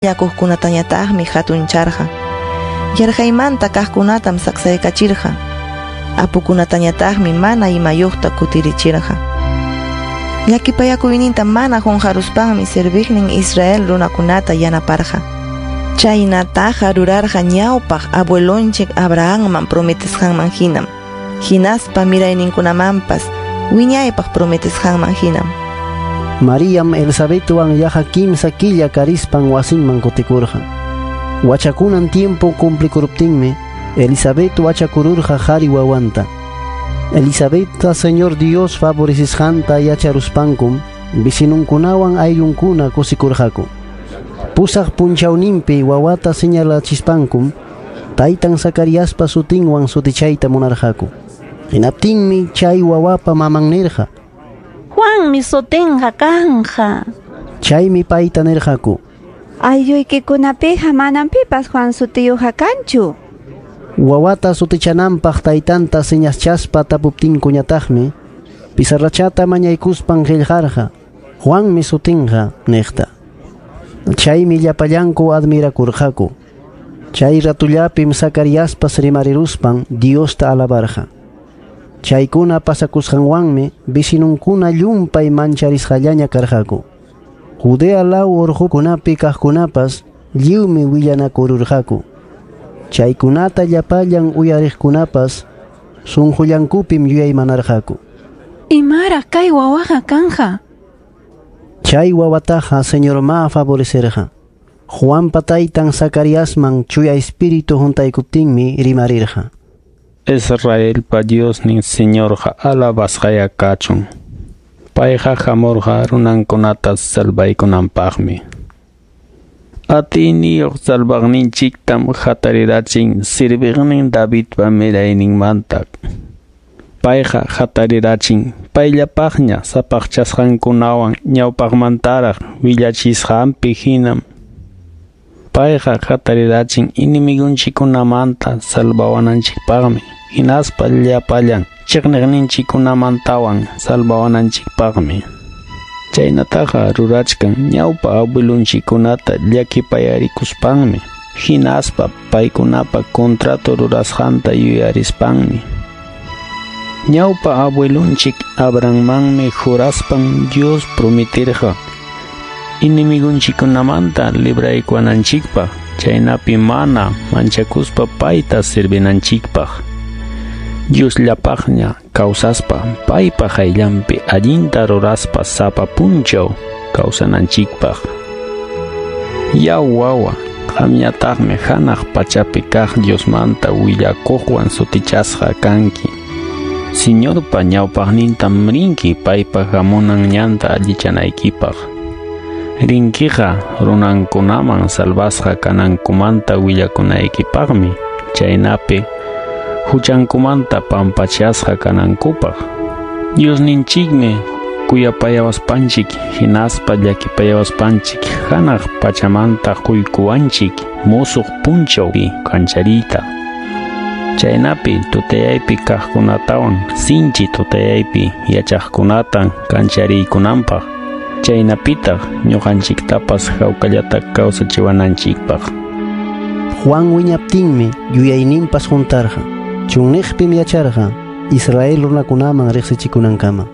Llakuqkunatañataqmi hatuncharqa. Yarqaymanta kaqkunatam saksaykachirqa. Apukunatañataqmi mana imayuqta kutirichirqa. Llakipayakuyninta mana qunqaruspanmi serviqnin Israel runakunata yanaparqa. Chaynataqa rurarqa ñawpaq abuelonchik Abrahamman prometesqanman hinam, hinaspa mirayninkunamanpas wiñaypaq prometesqanman hinam. Mariam Elisabetwan yaqa kimsa killa karispan wasinman kutikurqa. Wachakunan tiempo cumplikuruptinmi Elisabet wachakururqa qari wawanta. Elisabetta Señor Dios favorecisqanta yacharuspankum vecinunkunawan ayllunkuna kusikurqaku. Pusaq punchawninpi wawata señalachispankum taytan Zacariaspa sutinwan sutichayta munarqaku. Hinaptinmi chay wawapa maman nirqa: Juanmi sutinqa kanqa. Chaymi payta nirqaku: Aylluykikunapiqa manam pipas Juan sutiyuqqa kanchu. Wawata sutichananpaq taytanta señaschaspa tapuptinkuñataqmi pizarrachata mañaykuspan qillqarqa: Juanmi sutinqa niqta. Chaymi llapallanku admirakurqaku. Chay ratullapim Zacariaspas rimariruspan Diosta alabarqa. Chaykuna pasakusqanwanmi vecinunkuna llumpay mancharisqallaña karqaku. Judea law urqukunapi kaqkunapas lliwmi willanakururqaku. Chaykunata llapallan uyariqkunapas sunqullankupim yuyaymanarqaku. Imaraq kay wawaqa kanja? Chay wawataqa Señorma favorecerqa. Juanpa taytan Zacariasman chuya espíritu huntaykuptinmi rimarirqa: Israelpa Diosnin Señorqa alabasqaya kachun. Payqa hamurqa runankunata salvaykunanpaqmi. Atiyniyuq salvaqninchiktam hatarirachin serviqnin Davidpa mirayninmanta. Payqa hatarirachin payllapaqña sapaqchasqankunawan ñawpaqmantaraq willachisqanpi hinam. Payqa hatarirachin enemigunchikkunamanta salvawananchikpaqmi, hinaspa llapallan chiqniqninchikkunamantawan salvawananchikpaqmi. Chaynataqa rurachkan ñawpa abuelunchikkunata llakipayarikuspanmi, hinaspa paykunapa contrato rurasqanta yuyarispanmi. Ñawpa abuelunchik Abrahammanmi juraspan Dios prometirqa enemigunchikkunamanta libraykuwananchikpaq, chaynapi mana manchakuspa payta servinanchikpaq. Diosllapaqña kawsaspa paypa qayllanpi allinta ruraspa sapa punchaw kawsananchikpaq. Yaw wawa, qamñataqmi hanaq pachapi kaq Diosmanta willakuqwan sutichasqa kanki. Señorpa ñawpaqnintam rinki paypa hamunan ñanta allichanaykipaq. Rinkiqa runankunaman salvasqa kanankumanta willakunaykipaqmi, chaynapi huchankumanta pampachasqa kanankupaq. Diosninchikmi kuyapayawaspanchik hinaspa llakipayawaspanchik hanaq pachamanta quykuwanchik musuq punchawpi kanchariyta. Chaynapi tutayaypi kaqkunatawan sinchi tutayaypi yachaqkunata kanchariykunanpaq. Chaynapitaq ñuqanchiktapas hawkallata kawsachiwananchikpaq. Juan wiñaptinmi yuyayninpas huntarqa. Chunniqpim yacharqa Israel runakunaman riqsichikunankama.